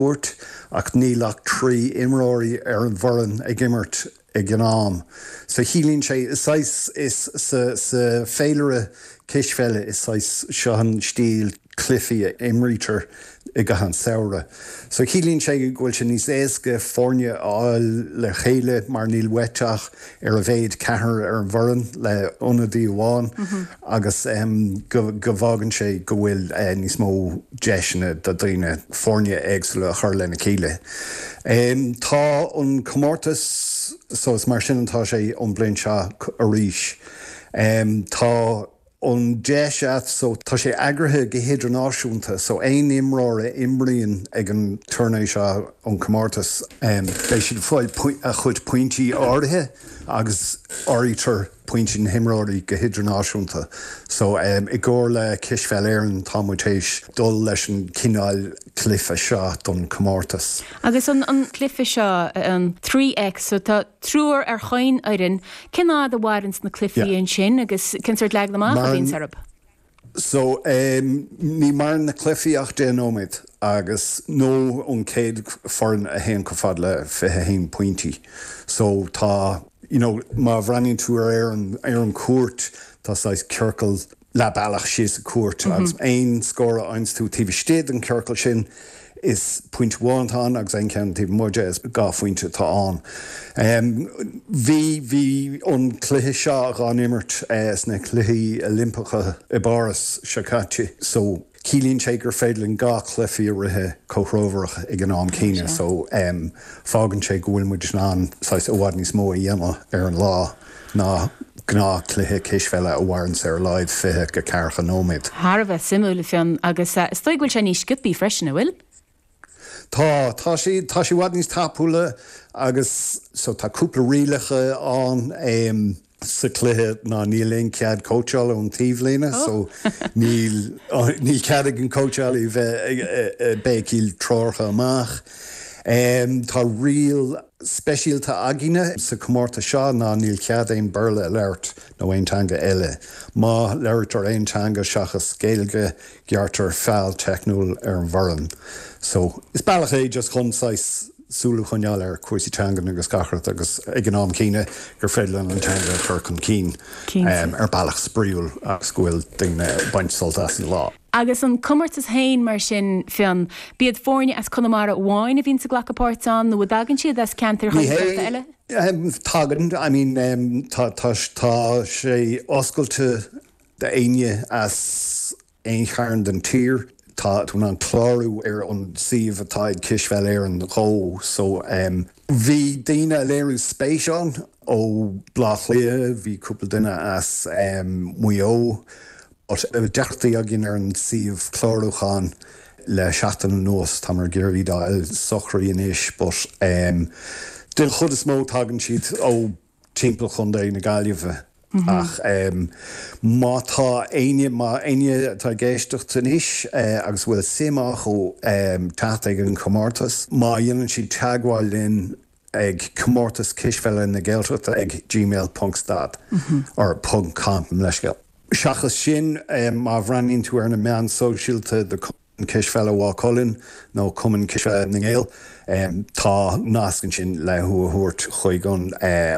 gcúirt ach níl ach 3 imreoirí ar an bhfoireann ag imirt ag an am. So ciallaíonn sé, is saghas, is sa, sa féilire cispheile is saghas, seo an stíl cluichí a imrítear i gcaitheamh an samhradh. So ciallaíonn sé go bhfuil sé níos éasca foirne a fháil le chéile mar níl uait ach ar a mhéad ceathrar ar an bhfoireann le ionadaí amháin agus go go bhfágann sé go bhfuil níos mó deiseanna do daoine foirne éagsúla a chur lena chéile. Tá an comórtas so is mar sin atá sé ón bliain seo arís. Tá an deis a't so tá sé eagraithe go hidirnáisiúnta so aon imreoir a imríonn ag an tourney seo an comórtas beidh siad ag fáil a chuid pointí áirithe agus áirítear pointí na himreoirí go hidirnáisiúnta so i gcomhar le Cispheil Éireann tá muid théis dul leis an cineál cluiche seo don comórtas. Agus an cluiche seo an 3X so tá triúr ar chaon fhoireann Cén fhad a mhaireanns na cluichí ansin agus cén sórt leagan amach a bhíonns orthu? So, ní maireann na cluichí ach 10 nóiméad agus nó an chéad foireann a théann chomh fada le 21 pointí. So tá, you know, má bhreathnaíonn tú ar an, ar an chúirt, tá saghas ciorcal leath bealach síos an chúirt agus aon scór a fhaigheanns tú taobh istigh den chiorcal sin, is pointe amháin atá ann agus aon cheann taobh amuigh de is 2 phointe atá ann. Bhí, bhí an cluiche seo dhá n-imirt sna Cluichí Oilimpeacha i bPáras seo caite so ciallaíonn sé gur féidir linn 2 chluichí a rith comhthreomhar ag an am céanna so fágann sé go bhfuil muid in ann saghas i bhfad níos mó a dhéanamh ar an lá. ná gnáth cluiche cispheile a mhaireanns ar a laghad 20 go ceathracha nóiméad. Thar a bheith suimiúil, a Fhionn, agus is dóigh go bhfuil sé níos sciobthaí freisin, an bhfuil? Tá, tá sé, tá sé i bhfad níos tapúla agus so tá cúpla rialacha ann sa chluiche ná níl aon cead cóitseála ón taobhlíne so níl, níl cead ag an cóitseálaí bheith ag béicíl treoracha amach. Tá riail speisialta againne sa chomórtas seo ná níl cead aon Béarla a labhairt nó aon teanga eile. Má labhraítear aon teanga seachas Gaeilge, gearrtar feall teicniúil ar an bhfoireann. So, is bealach é just chun saghas súil a choinneáil ar chúrsaí teangan agus gach rud agus ag an am céanna gur féidir linn an teanga a chur chun cinn ar bealach spraíúil agus go bhfuil daoine ag baint sult as an lá. Agus an comórtas féin mar sin, Fionn, b'iad foirne as Conamara amháin a bhíonns ag glacadh páirt ann nó an dtagann siad as ceantair Ghaeltachta eile? Tagann, I mean tá tá tá sé oscailte d'éinne as aon chearn den tír. Tá tú in ann clárú ar an suíomh atá ag Cispheil Éireann dhó so bhí daoine a léirigh spéis ann ó Bleá Cliath, bhí cúpla duine as Maigh Eo, But deacrachtaí againn ar an suíomh clárúcháin le seachtain anuas, táimid ag iarraidh iad a fháil socraithe anois but den chuid is mó tagann siad ó timpeall Chontae na Gaillimhe ach má tá éinne, má éinne atá ag éisteacht anois agus a bhfuil suim acu teacht ag an chomórtas, má dhéanann siad teagmháil linn ag Comórtas Cispheile na Gaeltachta ag gmail ponc stad or ponc com, leithscéal. Seachas sin, má bhreathnaíonn tú ar na meáin sóisialta do Cumann Cispheile Mhaigh Cuilinn nó Cumann Cispheile na nGael, tá nasc ansin le thú a thabhairt chuig an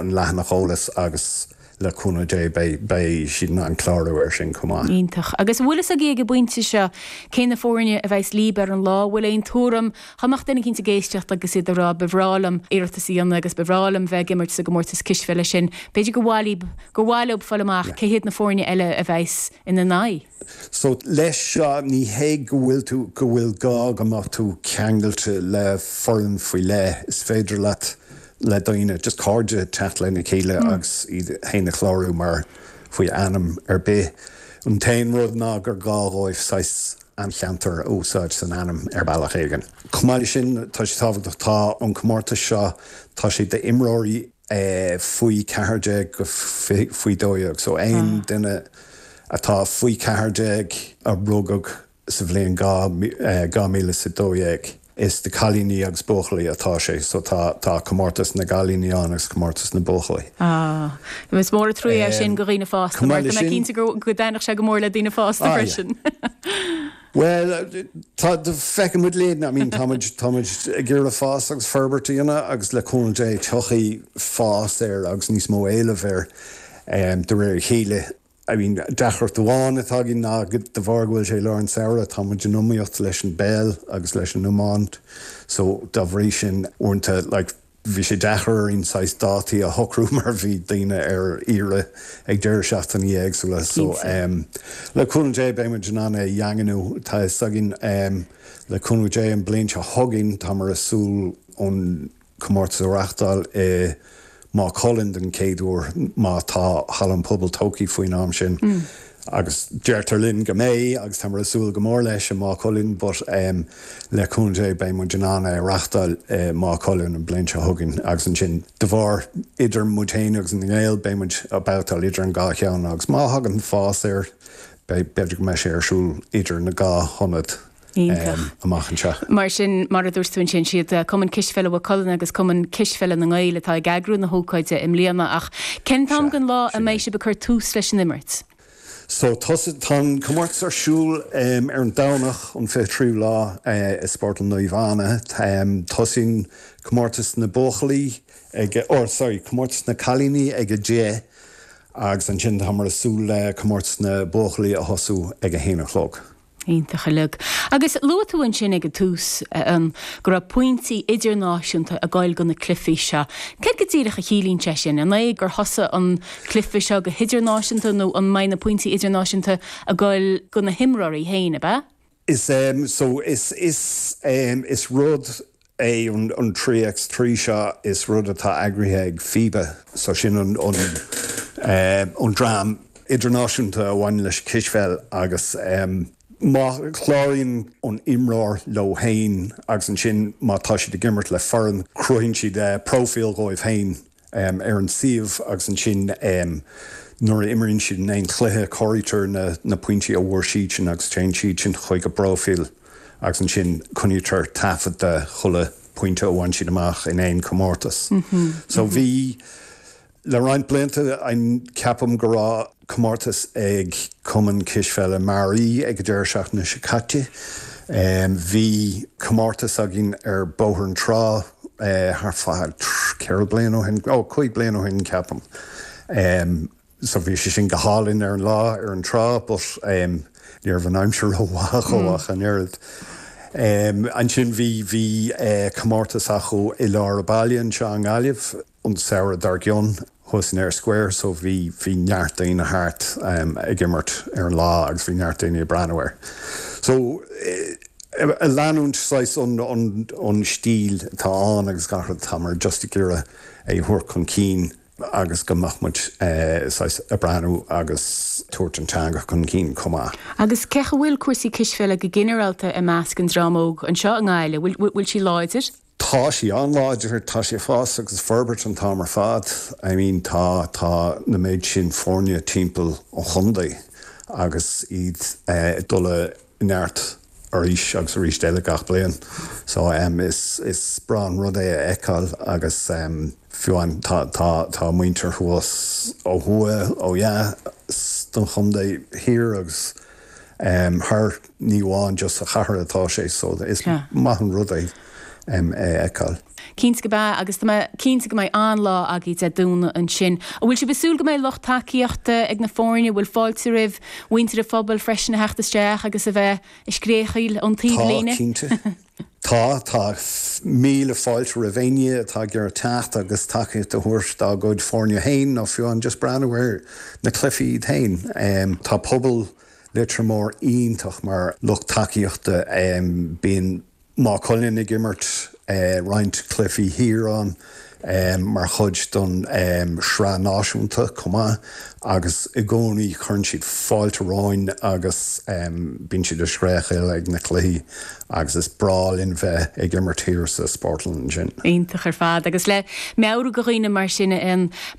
leathanach eolais agus le cúnamh Dé beidh siad in ann clárú air sin chomh maith. Iontach. Agus an bhfuil fhios agaibh ag an bpointe seo cé na foirne a bheas libh ar an lá? An bhfuil aon tuairim? Dá mbeadh duine eicínt ag éisteacht agus iad ag rá ba bhreá liom iarratas a dhéanamh agus ba bhreá liom bheith ag imirt sa gcomórtas cispheile sin, b'fhéidir gur mhaith libh, gur mhaith leob fáil amach cé hiad na foirne eile a bheas ina n-aghaidh. So leis seo ní hé go bhfuil tú, go bhfuil gá go mbeadh tú ceangailte le foireann faoi leith, is féidir leat le daoine, just cairde teacht lena chéile agus iad féin a chlárú mar faoi ainm ar bith. An t-aon rud ná gur gá dhóibh saghas an cheantar a úsáid san ainm ar bealach éigin. Chomh maith leis sin, tá sé tábhachtach, tá an comórtas seo, tá sé d'imreoirí faoi 14 go faoi 12, so aon duine atá faoi 14 a rugadh sa bhliain 2012. Is do cailíní agus buachaillí atá sé, so tá tá comórtas na gcailíní ann agus comórtas na buachaillí. Ah, is mór an trua é sin do dhaoine fásta, mar tá mé cinnte go go dtaitneodh sé go mór le daoine fásta freisin. Bhuel, tá, feicfidh muid linn, I mean, tá muid, tá muid ag iarraidh fás agus forbairt a dhéanamh agus le cúnamh Dé tiocfaidh fás air agus níos mó éilimh air de réir a chéile. I mean, deacracht amháin atá againn ná de bharr go bhfuil sé i lár an tsamhraidh, tá muid in iomaíocht leis an bpeil agus leis an iomáint so dá bhrí sin, uaireanta, like, Bhí sé deacair orainn saghas dátaí a shocrú mar bhí daoine ar iarraidh ag deireadh seachtainí éagsúla so le cúnamh Dé beidh muid in ann é a dhaingniú. Tá fhios againn le cúnamh Dé an bliain seo chugainn táimid ag súil an comórtas a reachtáil i Maigh Cuilinn den chéad uair má tá Halla an Phobail tógtha faoin am sin. Agus deirtear linn go mbeidh, agus táimid ag súil go mór leis i Maigh Cuilinn, but le cúnamh Dé beidh muid in ann é a reachtáil i Maigh Cuilinn an bliain seo chugainn agus ansin de bharr idir muid féin agus na nGaeil beidh muid ag babhtáil idir an dhá cheann agus má thagann fás air beidh, b'fhéidir go mbeidh sé ar siúl idir na dhá hionad amach anseo. Mar sin, mar a dúirt tú ansin, siad Cumann Cispheile Mhaigh Cuilinn agus Cumann Cispheile na nGael atá ag eagrú na hócáide i mbliana ach cén t-am den lá a mbeidh sibh ag cur tús leis an imirt? So, tá an comórtas ar siúl ar an Domhnach, an 23ú lá i Spórtlann Naomh Anna. Tosaíonn comórtas na buachaillí ag, or sorry, comórtas na cailíní ag 10 agus ansin táimid ag súil le comórtas na buachaillí a thosú ag 1 a chlog. Iontach uilig. Agus luaigh tú ansin ag an tús go raibh pointí idirnáisiúnta ag goil go na cluichí seo. Céard go díreach a chiallaíonn sé sin? An é gur thosaigh an cluiche seo go hidirnáisiúnta nó an mbeidh na pointí idirnáisiúnta ag goil go na himreoirí féin, ab ea? Is so is is is rud é an 3x3 seo, is rud atá eagraithe ag FIBA, so sin an an dream idirnáisiúnta a bhaineann leis an cispheil agus má chláraíonn an imreoir leo féin agus ansin má tá siad ag imirt le foireann, cruthaíonn siad próifíl dhóibh féin. ar an suíomh agus ansin nuair a imríonn siad in aon chluiche comhairítear na pointí a bhfuair siadsan agus téann siad sin chuig a bpróifíl agus ansin coinnítear taifead de chuile pointe a bhain siad amach in aon chomórtas. So bhí le roinnt blianta ceapaim go raibh comórtas ag Cumann Cispheile Mearaí ag an deireadh seachtaine seo caite. Bhí comórtas againn ar Bóthar na Trá thart fá 4 bliana ó shin, ó 5 bliana ó shin ceapaim. So bhí sé sin go hálainn ar an lá ar an trá but ní raibh an aimsir rómhaith dhó ach an oiread. Ansin bhí bhí comórtas acu i lár an bhaile anseo i nGaillimh. an samhradh dár gcionn thuas in Eyre Square so bhí bhí neart daoine thart ag imirt ar an lá agus bhí neart daoine ag breathnú air. So ag leanúint saghas an an an stíl atá ann agus gach rud táimid just ag iarraidh é a thabhairt chun cinn agus go mbeadh muid saghas ag breathnú agus tabhairt an teanga chun cinn chomh maith. Agus cén chaoi a bhfuil cúrsaí cispheile go ginearálta i measc an dream óg anseo i nGaillimh? Bhfuil bhfuil sí láidir? Tá sí an-láidir, tá sí ag fás agus ag forbairt an t-am ar fad. I mean tá, tá na méid sin foirne timpeall an chontae agus iad ag dul i neart arís agus arís eile gach bliain. So is, is breá an rud é a fheiceáil agus fiú amháin tá, tá, tá muintir thuas ó thuaidh, ó dheas den chontae thiar agus thar ní amháin just sa chathair atá sé so is maith an rud é é a fheiceáil. Cinnte gurb ea, agus tá mé cinnte go mbeidh an-lá agaibh Dé Domhnaigh ansin. An bhfuil sibh ag súil go mbeidh lucht tacaíochta ag na foirne? An bhfuil fáilte roimh mhuintir an phobail freisin a theacht isteach agus a bheith ag scréachaíl ón taobhlíne? Tá, cinnte. Tá, tá míle fáilte roimh éinne atá ag iarraidh teacht agus tacaíocht a thabhairt dá gcuid foirne féin nó fiú amháin just breathnú ar na cluichí iad féin. Tá pobal Leitir Móir iontach mar lucht tacaíochta. Bíonn Maigh Cuilinn ag imirt roinnt cluichí thiar ann mar chuid don sraith náisiúnta chomh maith agus i gcónaí cuireann siad fáilte romhainn agus bíonn siad ag scréachaíl ag na cluichí agus is breá linn bheith ag imirt thiar sa spórtlann ansin. Iontach ar fad. Agus le meabhrú do dhaoine mar sin,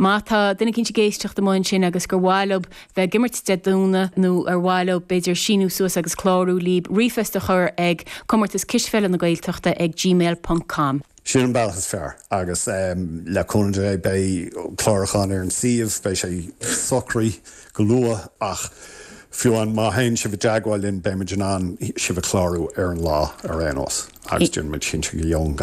má tá duine eicínt ag éisteacht amuigh ansin agus gur mhaith leo bheith ag imirt Dé Domhnaigh nó ar mhaith leo b'fhéidir síniú suas agus clárú líb ríomhphost a chur ag Comórtas Cispheile na Gaeltachta ag gmail ponc com. Sin an bealach is fearr agus le cúnamh Dé beidh clárúchán ar an suíomh, beidh sé socraithe go luath ach. Fiú amháin má théann sibh i dteagmháil linn beimid in ann sibh a chlárú ar an lá ar aon nós agus déanfaimid cinnte go gheobhann.